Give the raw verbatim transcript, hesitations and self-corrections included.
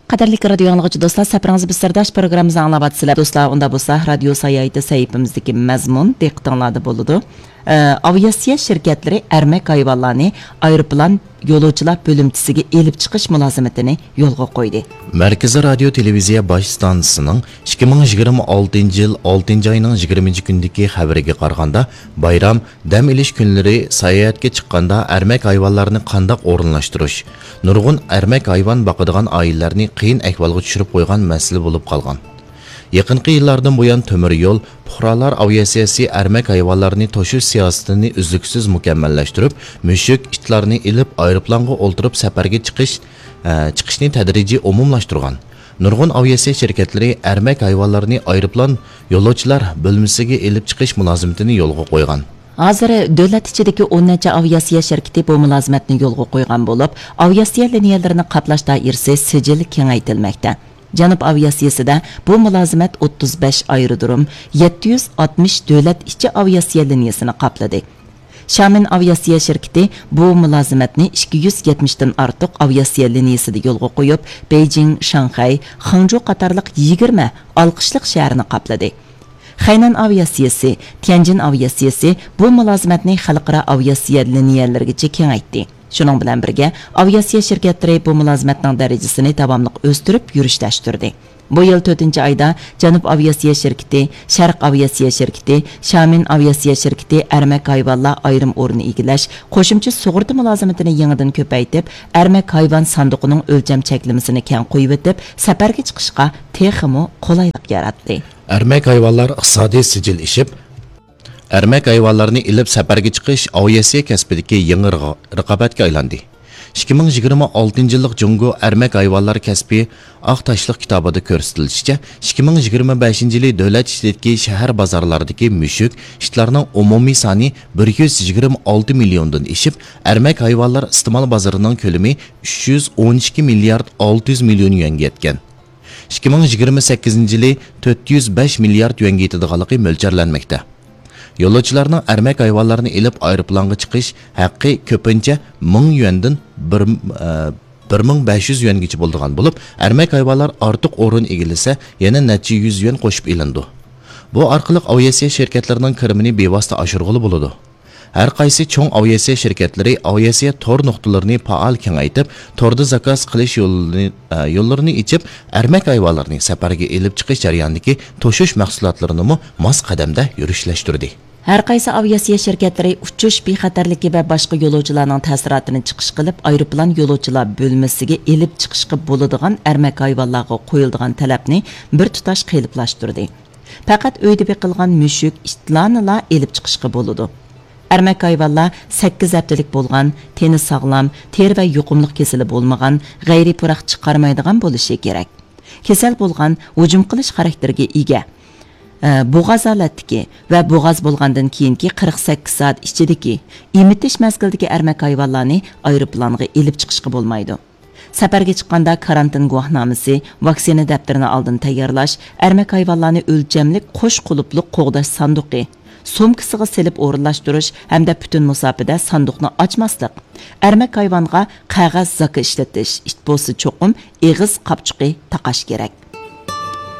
قەدىرلىك رادىيو ئاڭلىغۇچى دوستلار، سەپىرىڭىز بىز سىرداش پروگراممىمىزنى ئاڭلاۋاتىسىلەر. دوستلار، ئۇندا بولسا رادىيو ساياھىتى سەھىپىمىزدىكى مەزمۇن دىققىتىڭلاردا بولىدۇ. ئە، ئاۋىئاتسىيە شىركەتلىرى ئەرمەك ھايۋانلارنى ئايروپىلان يولۇچىلار بۆلۈمچىسىگە ئېلىپ چىقىش مۇلازىمىتىنى يولغا قويدى. مەركىزىي رادىيو تېلېۋىزىيە باش ئىستانسىسىنىڭ ئىككى مىڭ يىگىرمە ئالتىنچى يىل ئالتىنچى ئاينىڭ يىگىرمىنچى كۈنىدىكى خەۋىرىگە قارىغاندا، بايرام، دەم ئېلىش كۈنلىرى ساياھەتكە چىققاندا ئەرمەك ھايۋانلارنى قانداق ئورۇنلاشتۇرۇش، نۇرغۇن ئەرمەك ھايۋان باقىدىغان ئائىلىلەرنى قىيىن ئەھۋالغا چۈشۈرۈپ قويغان مەسىلە بولۇپ قالغان. يېقىنقى يىللاردىن بۇيان تۆمۈر يول، پۇقرالار ئاۋىئاتسىيەسى ئەرمەك ھايۋانلارنى توشۇش سىياسىتىنى ئۈزلۈكسىز مۇكەممەللەشتۈرۈپ، مۈشۈك، ئىتلارنى ئېلىپ ئايروپىلانغا ئولتۇرۇپ سەپەرگە چىقىش، ئە، چىقىشنى تەدرىجىي ئومۇملاشتۇرغان. نۇرغۇن ئاۋىئاتسىيە شىركەتلىرى ئەرمەك ھايۋانلىرىنى ئايروپىلان يولۇچىلار بۆلمىسىگە ئېلىپ چىقىش مۇلازىمىتىنى يولغا قويغان. ھازىر دۆلەت ئىچىدىكى ئون نەچچە ئاۋىئاتسىيە شىركىتى بۇ مۇلازىمەتنى يولغا قويغان بولۇپ، ئاۋىئاتسىيە لىنىيەلىرىنى قاپلاش دائىرىسى سىجىل كېڭەيتىلمەكتە. جەنۇب ئاۋىئاتسىيىسىدە بۇ مۇلازىمەت ئوتتۇز بەش ئايرودروم، يەتتە يۈز ئاتمىش دۆلەت ئىچى ئاۋىئاتسىيە لىنىيەسىنى قاپلىدى. شامېن ئاۋىئاتسىيە شىركىتى بۇ مۇلازىمەتنى ئىككى يۈز يەتمىشتىن ئارتۇق ئاۋىئاتسىيە لىنىيەسىدە يولغا قويۇپ، بېيجىڭ، شاڭخەي، خېڭجۇ قاتارلىق يىگىرمە ھالقىشلىق شەھەرنى قاپلىدى. خەينەن ئاۋىئاتسىيىسى، تيەنجىن ئاۋىئاتسىيىسى بۇ مۇلازىمەتنى خەلقئارا ئاۋىئاتسىيە لىنىيەلىرىگىچە كېڭەيتتى. شۇنىڭ بىلەن بىرگە، ئاۋىئاتسىيە شىركەتلىرى بۇ مۇلازىمەتنىڭ دەرىجىسىنى داۋاملىق ئۆستۈرۈپ يۈرۈشلەشتۈردى. بۇ يىل تۆتىنچى ئايدا جەنۇب ئاۋىئاتسىيە شىركىتى، شەرق ئاۋىئاتسىيە شىركىتى، شامېن ئاۋىئاتسىيە شىركىتى ئەرمەك ھايۋانلار ئايرىم ئورنى ئىگىلەش، قوشۇمچە سۇغۇرتا مۇلازىمىتىنى يېڭىدىن كۆپەيتىپ، ئەرمەك ھايۋان ساندۇقىنىڭ ئۆلچەم چەكلىمىسىنى كەڭ قويۇۋېتىپ، سەپەرگە چىقىشقا تېخىمۇ قولايلىق ياراتتى. ئەرمەك ھايۋانلار ئىقتىسادىي سىجىل ئېشىپ، ئەرمەك ھايۋانلارنى ئېلىپ سەپەرگە چىقىش ئاۋىئاتسىيە كەسپىدىكى يېڭى رىغ-، رىقابەتكە ئايلاندى. ئىككى مىڭ يىگىرمە ئالتىنچى يىللىق جۇڭگو ئەرمەك ھايۋانلار كەسپى ئاق تاشلىق كىتابىدا كۆرسىتىلىشىچە، ئىككى مىڭ يىگىرمە بەشىنچى يىلى دۆلەت ئىچىدىكى شەھەر بازارلاردىكى مۈشۈك، ئىتلارنىڭ ئومۇمىي سانى بىر يۈز يىگىرمە ئالتە مىليوندىن ئېشىپ، ئەرمەك ھايۋانلار ئىستېمال بازىرىنىڭ كۆلىمى ئۈچ يۈز ئون ئىككى مىليارد ئالتە يۈز مىليون يۈەنگە يەتكەن. ئىككى مىڭ يىگىرمە سەككىزىنچى يىلى تۆت يۈز بەش مىليارد يۈەنگە يېتىدىغانلىقى مۆلچەرلەنمەكتە. يولۇچىلارنىڭ ئەرمەك ھايۋانلارنى ئېلىپ ئايروپىلانغا چىقىش ھەققى كۆپىنچە مىڭ يۈەندىن بىر، ئە، بىر مىڭ بەش يۈز يۈەنگىچە بولىدىغان بولۇپ، ئەرمەك ھايۋانلار ئارتۇق ئورۇن ئىگىلىسە، يەنە نەچچە يۈز يۈەن قوشۇپ ئېلىنىدۇ. بۇ ئارقىلىق ئاۋىئاتسىيە شىركەتلىرىنىڭ كىرىمىنى بىۋاسىتە ئاشۇرغىلى بولىدۇ. ھەر قايسى چوڭ ئاۋىئاتسىيە شىركەتلىرى ئاۋىئاتسىيە تور نۇقتىلىرىنى پائال كېڭەيتىپ، توردا زاكاز قىلىش يولىنى، ئە، يوللىرىنى ئېچىپ، ئەرمەك ھايۋانلىرىنى سەپەرگە ئېلىپ چىقىش جەريانىدىكى توشۇش مەھسۇلاتلىرىنىمۇ ماس قەدەمدە يۈرۈشلەشتۈردى. ھەر قايسى ئاۋىئاتسىيە شىركەتلىرى ئۇچۇش بىخەتەرلىكى ۋە باشقا يولۇچىلارنىڭ تەسىراتىنى چىقىش قىلىپ، ئايروپىلان يولۇچىلار بۆلمىسىگە ئېلىپ چىقىشقا بولىدىغان ئەرمەك ھايۋانلارغا قويۇلىدىغان تەلەپنى بىر تۇتاش قېلىپلاشتۇردى. پەقەت ئۆيدە بېقىلغان مۈشۈك، ئىتلارنىلا ئېلىپ چىقىشقا بولىدۇ. ئەرمەك ھايۋانلار سەككىز ھەپتىلىك بولغان، تېنى ساغلام، تېرە ۋە يۇقۇملۇق كېسىلى بولمىغان، غەيرىي پۇراق چىقارمايدىغان بولۇشى كېرەك. كېسەل بولغان، ھۇجۇم قىلىش خاراكتېرىگە ئىگە، ئە، بوغاز ھالەتتىكى ۋە بوغاز بولغاندىن كېيىنكى قىرىق سەككىز سائەت ئىچىدىكى ئېمىتىش مەزگىلىدىكى ئەرمەك ھايۋانلارنى ئايروپىلانغا ئېلىپ چىقىشقا بولمايدۇ. سەپەرگە چىققاندا كارانتىن گۇۋاھنامىسى، ۋاكسىنا دەپتىرىنى ئالدىن تەييارلاش، ئەرمەك ھايۋانلارنى ئۆلچەملىك قوش قۇلۇپلۇق قوغداش ساندۇقى، سومكىسىغا سېلىپ ئورۇنلاشتۇرۇش ھەمدە پۈتۈن مۇساپىدە ساندۇقنى ئاچماسلىق. ئەرمەك ھايۋانغا قەغەز زاكا ئىشلىتىش، ئىت بولسا چوقۇم ئېغىز قاپچۇقى تاقاش كېرەك.